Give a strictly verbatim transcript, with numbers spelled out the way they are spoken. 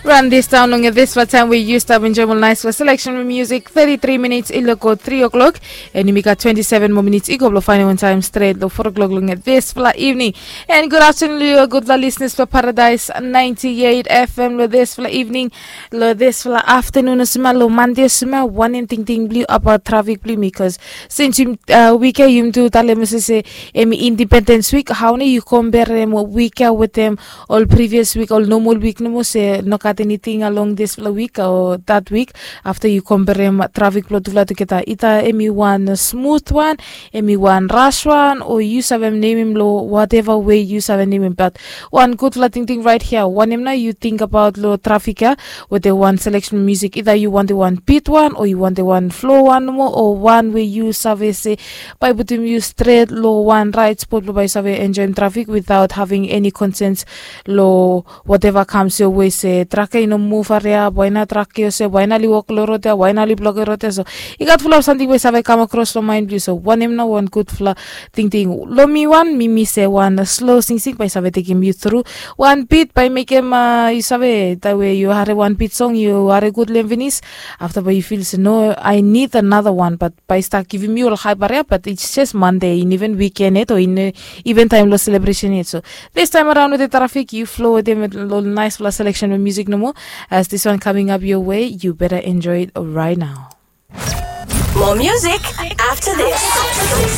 Ran dis daun long dispela taim we yu stap enjoim ol naispela seleksen bilong musik. Thirty-three minutes i loko three o'clock. Em i gat twenty-seven moa minutes i go bilong fainimaot taim stret long four o'clock long dispela evening. And good afternoon long yu gutpela listeners for Paradise ninety-eight F M long dispela evening. Long dispela afternoon olsem ya, long Monday olsem ya, wanem tingting bilong yu about traffic bilong yumi? Bikos since yumi, uh, wik ya yumi tu talem olsem se em i Independence Week, hau nau yu komperem wik ya wetem ol previous week, ol normal week nomo, se no gat anything along dispela week o that week? After yu komperem traffic bilong tufala tugeta, either em i wan smooth wan, em i wan rush wan, o yu save nemem long whatever way yu save nemem. But wan gutpela tingting right here, wanem nau yu think about long traffic ya wetem wan selection music? Either yu wantem wan beat wan, o yu wantem wan flow wan nomo, o wan we yu save se bai putim yu stret long wan right spot bilong bai yu save enjoim traffic without having any concerns long whatever comes your way, se trak ya i no muv hariap, wai nau trak ya olsem, wai nau oli wok long rot ya, wai nau oli blokim rot ya. So i gat fulap samting we i save kam akros long main bilong yu. So wanem nau wan gutpela tingting? Long mi wan, mi mi se wan slow singsing bai i save tekim yu tru. Wan beat bai mekim, uh, yu save, taim we yu harim wan beat song, yu harim gut long em pinis, afta bai yu fil se no, I need another one, but bai i stap givim yu ol haip hariap, but it's just Monday, i no even weekend yet, o i no even taim long celebration yet. So this time around wetem traffic, yu flow wetem ol naispela selection bilong music nomo. As this one coming up your way, you better enjoy it right now. More music after this.